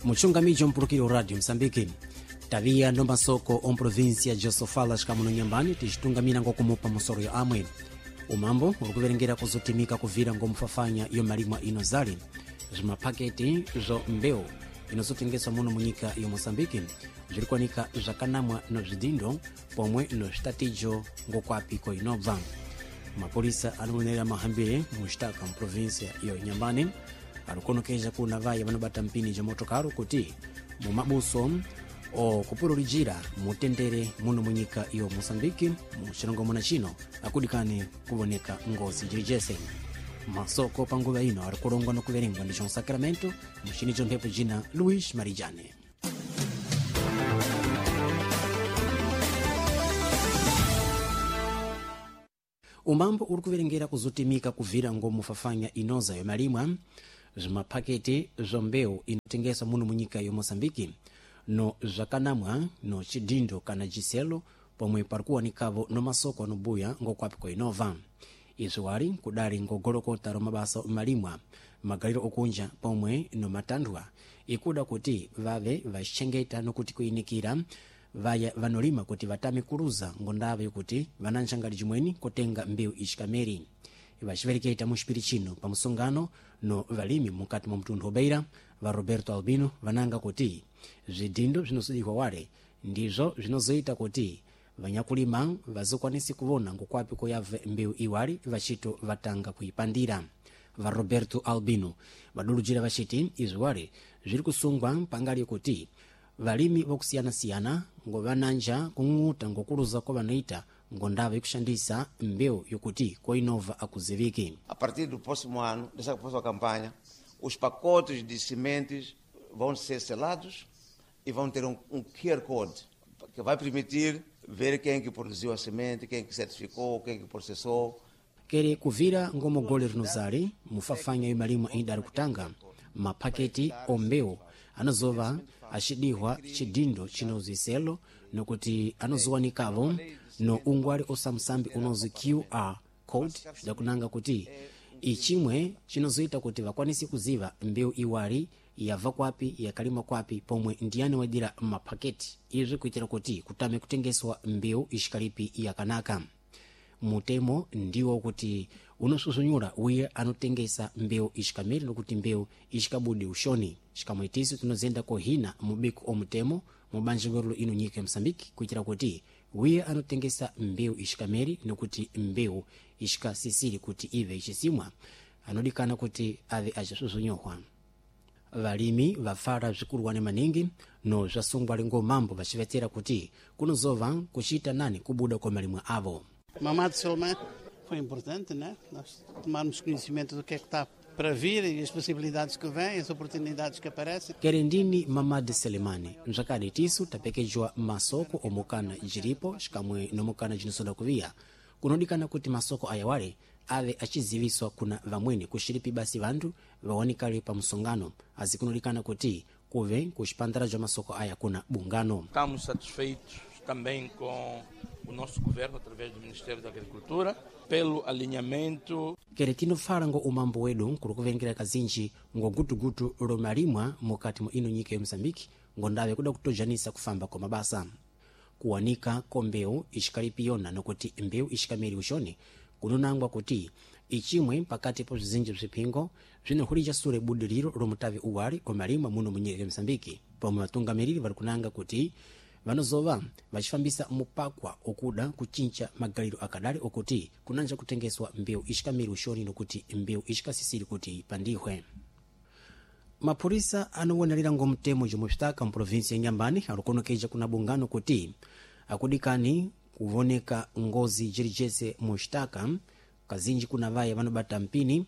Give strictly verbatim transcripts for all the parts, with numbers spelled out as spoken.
Muchungamijo mpulukiro Radio Msambiki taviya ndo masoko om província de Sofala xikamuno nyambani ticitungamira ngokumupa mosoro ya amwe umambo uri kuverengera kuzotimika kuvira ngomufafanya yo malimwa ino zali zvimaphaketi zvo mbeu inozotengeswa muno munyika yo Moçambique zvirikuwanika zvakanamwa no zvidindo pomwe no zvitatijo ngokwapi koinobva. Mapolisa anovonerera mahambire muxitaka muprovíncia yo Inhambane arikuonekeja kuna vaya vanobata mpini ja motokaro kuti mumabuso okupululijira mutendere muno munyika yo Moçambique muxilongomuna chino akudikani kuvoneka ngozi jirijese. Masoko panguva ino ari kulongwa nokuverengwa ndi João Sacramento muxinicho mphepo jina Luís Marijane. Umambo uri kuverengera kuzotimika kuvira ngomufafanya inoza yomalimwa zvimaphaketi zva mbeu inotengeswa muno munyika yo Moçambique no zvakanamwa no chidindo kana ciselo pomwe pari kuwanikavo no masoko anobuya ngokwapi koinova. Izvi wali kudali ngogolokota ro mabasa malimwa magaliro okunja pomwe no matandwa ikuda kuti vave vaxichengeta nokuti kuinikira vaya vanolima kuti vatame kuluza ngondava yokuti vananjangali cimweni kotenga mbewu ixikameri. Vaxivereketa muxipiri chino pa musongano no valimi mukati mwa mtundu obeira va Roberto Albino vananga kuti zvidindo zvinozodihwa wale ndizvo zvinozoita kuti vanyakulima vazokwanisi kuvona ngokwapi koyabva mbewu iwali vacito vatanga kuipandira. Va Roberto Albino vadulujira vaciti izvi wale zviri kusungwa pangali yokuti valimi vokusiyana-siyana ngovananja kung'ung'uta ngokuluza kwa vanoita ngondava yokushandisa mbewu yokuti koinova akuziviki. A partir do próximo ano, dessa próxima campanha, os pacotes de sementes vão ser selados e vão ter um, um Q R Code que vai permitir ver quem que produziu a semente, quem que certificou, quem que processou. Quere kuvira ngomogole rinozali mufafanya yomalimwa idali kutanga maphaketi ombewu anozova axidihwa chidindo chinozi selo nokuti anozowanikavo no ungwali osamusambi unozi Q R code dakunanga kuti ichimwe chinozoita kuti vakwanisi kuziva mbewu iwali yabva kwapi yakalimwa kwapi pomwe ndiyani wadira maphaketi izvi kuitira kuti kutame kutengeswa mbewu ixikalipi yakanaka. Mutemo ndiwo kuti unosusunyula uye anotengesa mbewu ixikamiri nokuti mbewu ixikabudi uxoni. Xikamwetiso tinozenda kohina mubiko omutemo mubanjingorolo ino nyika ya Moçambique kuitira kuti uye anotengesa mbewu ixikameri nokuti mbewu ixikasisiri kuti ive ixisimwa anodikana kuti ave axisusunyohwa. Valimi vafala zvikuluwane maningi no zvasungwa lingo mambo vaxivetera kuti kunozova kuxiita nani kubuda kwa malimwa avo. Mamado Solman foi importante, né? Nós tomarmos conhecimento do que é que está para vir e as possibilidades que vêm, as oportunidades que aparecem. Kerendini Mamad Selemani mzwakadi tisu tapekejwa masoko omukana jiripo xikamwe nomukana jinosoda kuviya kunodikana kuti masoko ayawale ave achiziviswa kuna vamweni kuxiripi basi vanthu vawanikale pa musongano azi kunodikana kuti kuve kuxipandara bya masoko aya kuna bungano. Estamos satisfeitos também com o nosso governo através do Ministério da Agricultura pelo alinhamento. Kere tinofala ngo umambo wedu kuli kuverengera kazinji ngo gutugutu lomalimwa mukati mwa ino nyika ya Moçambique ngondave kuda kutojanisa kufamba kwa mabasa kuwanika ko mbewu ixikalipi yona nokuti mbewu ixikameri uxoni kunonangwa kuti ichimwe pakati po bzizinji bziphingo bzinohulija sule budiriro lomutavi uwali omalimwa muno munyika ya Moçambique pomwe vatungamiriri vari kunanga kuti vanozova vachifambisa mupakwa okuda kuchincha magaliro akadali okuti kunanja kutengeswa mbewu ixikamiri uxoni nokuti mbewu ixikasisiri kuti pandihwe. Maphurisa anowonelera ngomutemo jomwe bzitaka muprovinsi ya Inhambane alikuonekeja kuna bungano kuti akudikani kuvoneka ngozi jirijese muxitaka kazinji kuna vaya vanobata mpini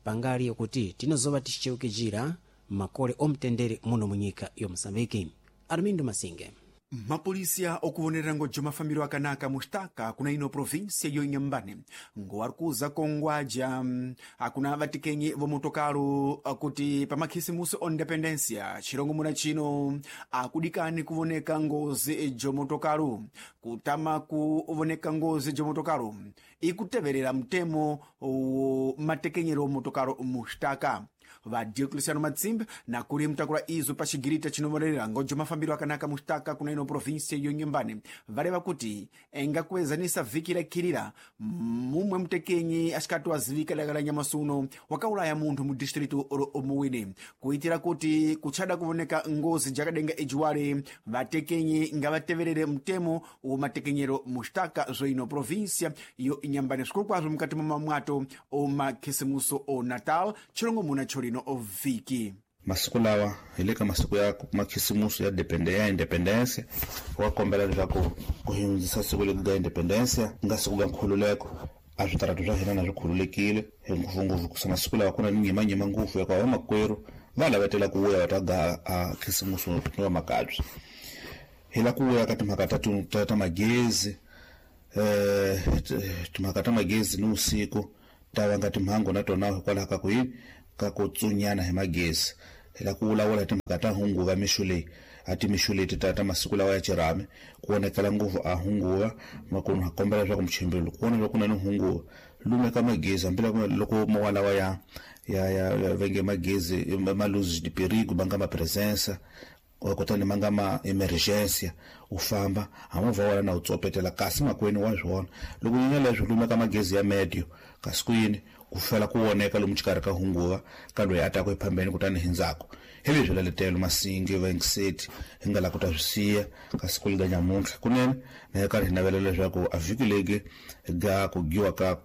pangali yokuti tinozova tixicewukijira makole omutendere muno munyika yo Moçambique. Armindo Masinge. Mapolisiya okuvonerera ngojo mafambiro akanaka muxitaka kuna ino província yo Inhambane ngowarikuza kongwaja akuna vatikenyi vomotokalo kuti pamakhisimusi o independência chirongomuna chino akudikani kuvoneka ngozi jomotokalo. Kutama kuvoneka ngozi jomotokalo ikuteverera mutemo wo matekenyero omotokalo muxitaka. Va Diocleciano Matsimba nakuli mtakula izo pa chigirita chinovonerera ngojo mafambiro akanaka mustaka kuna ino provinsia yonyembane valeva kuti engakuwezanisa vhiki lakhirira mumwe mtekenyi asikati azivika daka nyamasi uno wakaulaya munthu mu distritu ro omuwini kuitira kuti kutchada kuvoneka ngozi jakadenga ejiwale vatekenyi ngavateverere mtemo wa matekenyero mustaka zoino provinsia yo inyambane swikulu kwazvo mukati mwa mamwato omakhisimuso o Natal chilongo muna cholino ovhiki masiku lawa hi le ka masiku ya makhisimuso ya depende ya independência wa kombela leswaku ku hundzisa siku leri ga independência ku nga siku ga nkhululeko a switaratu swa hina na swi khululekile hi ngopfungopfu kusa masiku lawa ku na nyimanyima ngopfu hikuva vamakwerhu va lavetela ku vuya va ta ga a khisimuso ni vamakabye hi la ku vuya ka timhaka ta ta ta magezi um timhaka ta magezi ni vusiku ta vanga timhangu na tona hikwalaho ka ku yini ka ku tsunyana hi magezi hi la ku vulavula hi timhaka ta hunguva mixo leyi a timixo leti ta ta masiku lawa ya xirhami ku vonakela ngopfu a hunguva makunu ha kombela leswaku muchimbeli loko vona loko ku na ni hunguva lumeka magezi hambiloko loko mowa lawa ya ya ya ya venge magezi ma luz de perigo ma nga ma presença kutani ma nga ma emergência u famba ha movha wala na wu tsopetela kasi makwenu wa swona loko nyanya leswo lumeka magezi ya medio kasi ku yini ku fela ku voneka lomu xikarhi ka hunguva ka loyi a taku ephambeni kutani hi ndzhaku hi leswi laletelo masingi vangiseti hi nga la ku ta swi siya kasi ku liga nyamuntlha kunene na hi karhi hi navela leswaku a vhiki legi ga ku giwa ka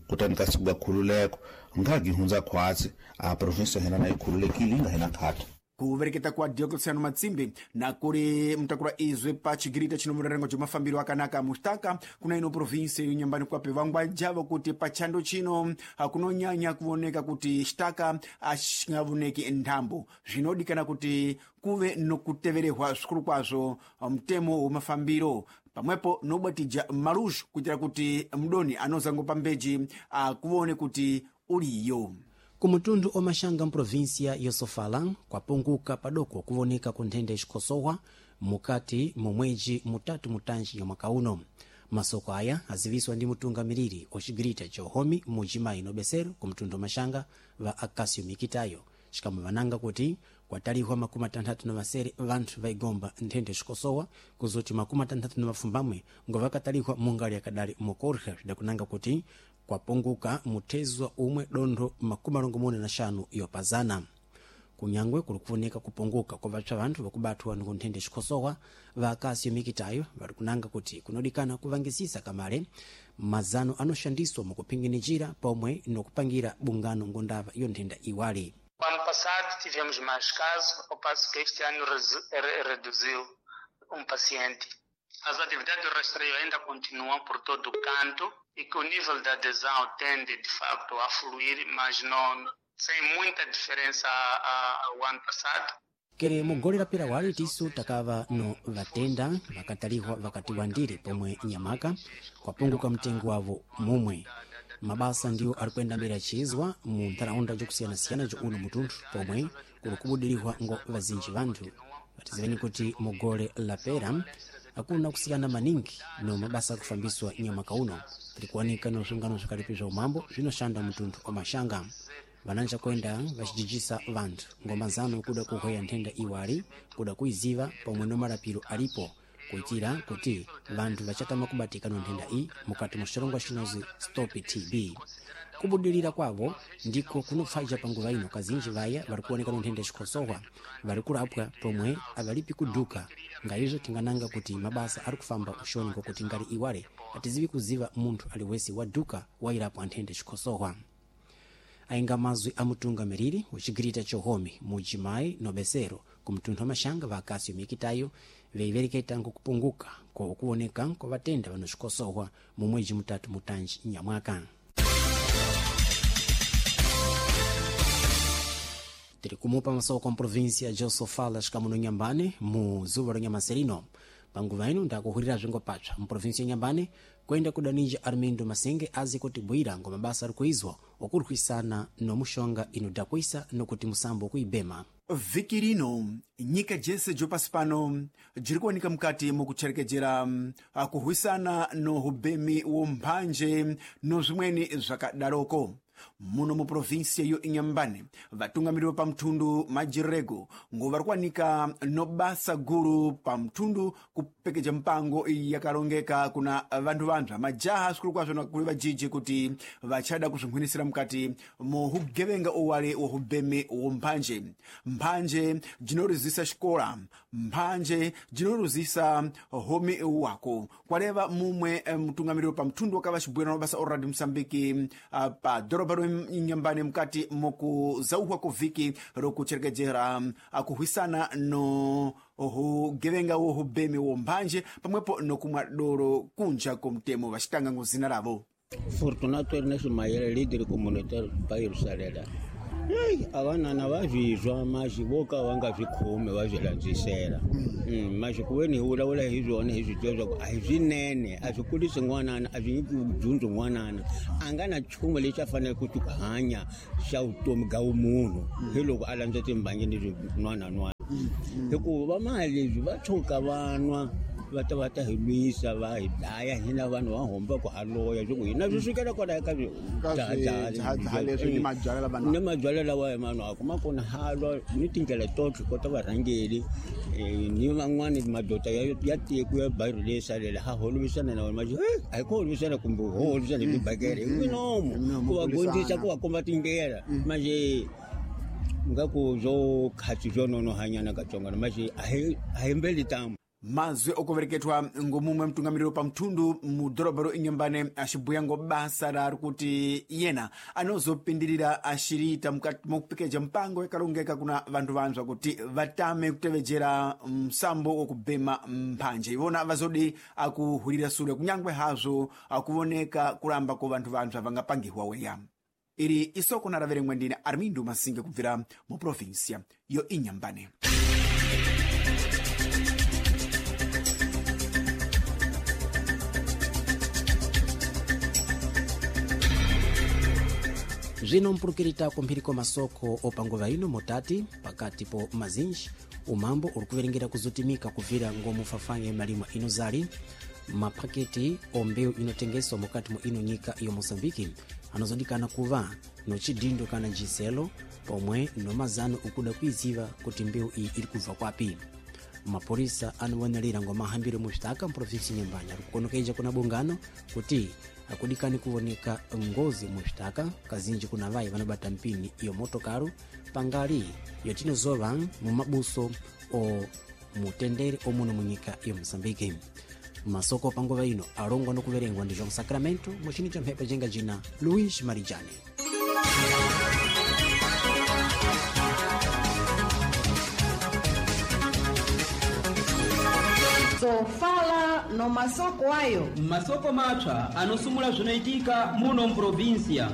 kutani ka siku ga khululeko nga gi hundza khwatsi a provinsi ya hina na yi khululekile yi nga hina khata kuvereketa kwa Diocleciano Matsimbi nakuli mtakula izwe pa chigirita chinomurerengo cha mafambiro akanaka mustaka kuna ino provinsi yonyambani kwape vangwajavo kuti pa chando chino akunonyanya kuvoneka kuti xitaka axingavoneki nthambo zvinodikana kuti kuve nokuteverehwa swikulu kwazvo mtemo wa mafambiro pamwepo nobatija maluxo kuitira kuti mdoni anozango pambeji akuvone kuti uliyo Kumutundu omaxanga mprovinsia yosofala kwapunguka padoko kuvoneka ku nthenda ixikhosowa mukati mu mwedzi mutatu mutanji ya mwaka uno. Masoko aya aziviswa ndi mutungamiriri ocigirita ca uhomi mujimayi nobesero ku mtundu omaxanga va Acasio Mikitayo xikamwe vananga kuti kwatalihwa makumi atanthatu na masere vanthu vaigomba nthenda ixikhosowa kuzoti makumi atanthatu na mafumbamwe ngovakatalihwa mungali akadali mokorha zvidakunanga kuti kwapunguka muthezwa umwe dontho makumi alongomuna na xanu yopazana. Kunyangwe kuli kuoneka kupunguka kwa vapsa vanthu vakubathwa ni kunthenda xikhosowa va Acasio Mikitayo vari kunanga kuti kunodikana kuvangisisa kamale mazano anoxandiswa mukuphinginicira pomwe nokupangira bungano ngondava yo nthenda iwali. O ano passado tivemos mais casos, ao passo que este ano reduziu um paciente. As atividades de rastreio ainda continuam por todo o canto e que o nível de adesão tende, de facto, a fluir, mas não sem muita diferença ao ano passado. Kere mugolera pera wali tisu takava no vatenda vakatalihwa vakatiwandire pomwe nyamaka kwapunguka mtengo wavo mumwe. Mabasa ndiwo ari kuyenda mberi achiyizwa mu ntharaunda jokusiyanasiyana jo uno mutunthu pomwe kuli kubudirihwa ngo vazinji vanthu. Vatiziveni kuti mugole la pera akuna kusiyana maningi no mabasa akufambiswa nyamaka uno tiri kuwanika no sungano zwakalipi zwa umambo zvinoshanda mutunthu wa maxanga. Vananja kwenda vachijijisa vanthu ngomazano kuda kuhweya nthenda iwali kuda kuiziva pomwe no malapiro alipo kuitira kuti vanthu vachatama kubatika no nthenda iyi mukati mwa xilongwa chinozi Stop T B. Kubudirira kwavo ndiko kunopfaja panguva ino kazinji vaya vari kuoneka no nthenda xikhosowa vari kurapwa pomwe avalipi kuduka. Ngaizvo tingananga kuti mabasa ari kufamba ushoni ngokuti ngari iwale atizivi kuziva munthu aliwese waduka wairapwa nthenda xikhosowa. Ainga mazwi a mutungamiriri wecigirita chohomi mujimayi nobesero ku mtunthu wa maxanga va Acasio Mikitayo veivereketa ngokupunguka kwa kuoneka kwa vatenda vanoxikosowa mu mwedzi mutatu mutanji nyamwaka. Tiri kumupa masoko mprovinsia ya Sofala xikamuno Nyambane mu zuva la Nyamasirino. Panguva ino ndakuhwirira zvingo patsva mprovinsia ya Nyambane kwenda kudanija Armindo Masenge azi kuti bwira ngo mabasa ari kuizwa okurwisana no muxonga inodakwisa nokuti musambo kuibema. Vhiki rino nyika jese jopasi pano jiri kuoneka mukati mukucherekedzera kuhwisana no hubhemi wo mphanje no zvimweni zvakadaroko. Muno mu provinsia yo Inhambane, vatungamiriri pa mthundu majirego ngo vari kuwanika no basa guru pa mthundu kupekeja mpango yakalongeka kuna vanthu vanthu majaha sikulu kwazvo na kuli vajiji kuti vachada kuzvinkhwinisira mukati mu hugevenga uwale wa hubeme wo mphanje. Mphanje jinoruzisa xikola, mphanje jinoruzisa homi wako, kwaleva mumwe eh, mtungamiriri pa mthundu wakava xibwera no basa oradi Moçambique ah, pa doroba ro Inhambane mukati mukuzauhwa ku vhiki rokucherekedzera akuhwisana no hugevenga wo hubeme wo mphanje pamwepo nokumwa doro kunja ko mutemo vacitanga ngo zina ravo. Fortunato Ernesto Mayele, líder comunitário bairro Sarela. Ei, avanana va swi twa masi vo ka va nga swi khomi va swi landzisela. Mm, masi ku ve ni hi vulavula hi swona hi swi tiva swa ku a hi swinene, a swi kurisi n'wanana, a swi nyiki dyondzo n'wanana, a nga na nchumu lexi a faneleke ku ku hanya xa vutomi bya vumunhu hi loko a landza timbangi ni swin'wanan'wana, hikuva va mali leswi va tshuka va nwa va ta va ta hi lwisa va hi dlaya hina vanhu va homba ku haloya swi ku hina swi sukela kwalaya ka swidzahadzaha leswi ni mabyalwa lava ni mabyalwa lawa hi manwaku ma kona halwa ni tindlela totlhe kota varhangeri eh, ni van'wani madoda ya ya tiko ya bayiro leyi salela ha holovisana na wona manje a hi ku holovisana kumbe ho holovisana hi tibakele hi minomo ku va gondzisa ku va komba tindlela manje ngaku byo khatsi byo nonohanyana katsongwana manje a hi a hi mbeli tamu. Mazwi okuvereketwa ngomumwe mtungamiriri pa mthundu mu dhorobha ro Inhambane acibuya ngo basa rari kuti yena anozopindirira axiriita mukati mokupekeja mpango yakalongeka kuna vanthu vanzwa kuti vatame kutevejera msambo wokubhema mphanje ivona vazodi akuhwirira sule kunyangwe hazvo akuvoneka kulamba ko vanthu vanzwa vangapangihwa weya. Iri isoko na raverengwe ndine Armindo Masinge kubvira mu provinsia yo Inhambane. Zvino mpurukirita kumphiriko masoko opanguva ino mutati pakati po mazinji umambo uri kuverengera kuzotimika kubvira ngomufafanya malimwa inozali mapaketi ombewu inotengeswa mukati mu ino nyika yo Moçambique anozodikana kuva nochidindo kana njiselo pomwe nomazano ukuda kuiziva kuti mbewu iyi iri kubva kwapi. Mapurisa anovonerera ngo mahambiro muzvitaka muprovinsi Nyambani ari kukonokeja kuna bungano kuti akudikani kuvoneka ngozi muzvitaka kazinji kuna vai vanobata mpini iyo motokaru pangali yotinozova mumabuso o mutendere omuno munyika yo Moçambique. Masoko panguva ino alongwa nokuverengwa ndi João Sacramento muchini cha mphepo jenga jina Luís Marijane. Sofala no masoko ayo. Masoko mapsa anosumula zvinoitika muno muprovinsia.